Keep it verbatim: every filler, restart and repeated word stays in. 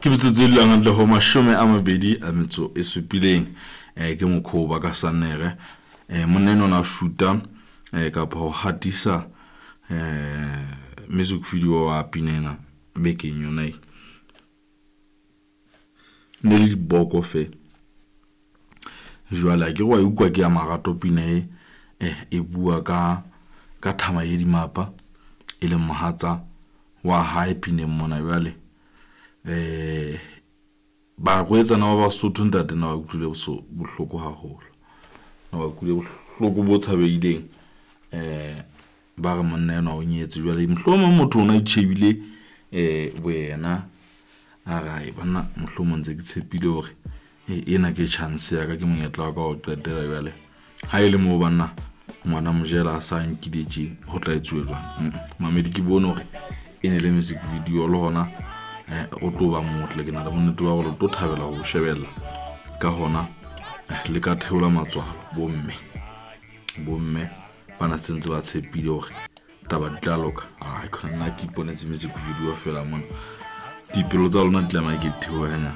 Ke metsotso e dulang hantle ho mashome a mabedi a metso e supileng. Eh ke mokhoba ka Sannere. Eh monna enwa na shoota eh kapa ho hatisa eh music video wa pina ena bekeng yona e. Ne le diboko fe. Jwale akere wa utlwa ke ya marato pina e eh e bua ka ka thama e dimapa e leng mohatsa wa hae pineng mona jwale. Eh barwetsana ba Basotho ntate na ba utlwile bohloko haholo, na ba utlwile bohloko bo tshabehileng. Eh ba re monna enwa o nyetse jwale mohlomong motho ona itjhebile eh boyena a re ae banna mohlomong ntse ke tshepile hore ena ke chance ya ka, ke monyetla wa ka wa ho qetela jwale. Ha e le moo banna ngwana mojela a sa nkile tje ho tla etsuwa jwang? Mamedi ke bone hore e ne le music video le hona o tlo ba motle. Ke na le bonnete ba hore le tlo thabela ho shebella ka hona le ka theola matswalo bomme, bomme bana sentse ba tshepile hore taba di tla loka. Ai khona nna ke iponetse music video fela mona, dipelo tsa lona di tlameha ke di theohe hanyane.